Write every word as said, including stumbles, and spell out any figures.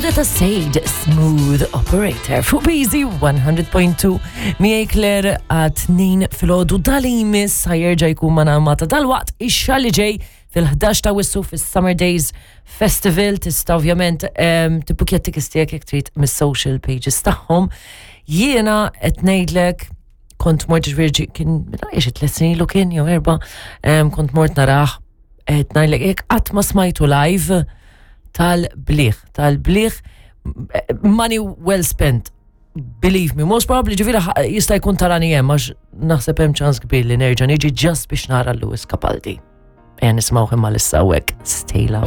Waħda ta' Sade, Smooth Operator, fuq B Z one hundred point two, miegħi Claire għat-tnejn filgħodu. Dal-imiss ħa jerġa' jkun magħna Malta dalwaqt, ix-xahar li ġej fil-ħdax ta' Awwissu fis-Summer Days Festival. Tista' ovvjament um, tibbukja tickets tiegħek jekk trid mis-social pages tagħhom. Jiena qed ngħidlek kont mort, ġifieri kien meta xi tliet snin ilu kien jew erba', em, kont mort narah, qed ngħidlek jekk qatt ma smajtu live, tal-bliħ, tal-bliħ, money well spent. Believe me, most probably ġifieri ħa- jista' jkun tarani hemm, għax naħseb hemm ċans kbir li nerġa' niġi just biex nara Lewis Capaldi. Ejja nisimgħu imma issa hawnhekk Stay Love.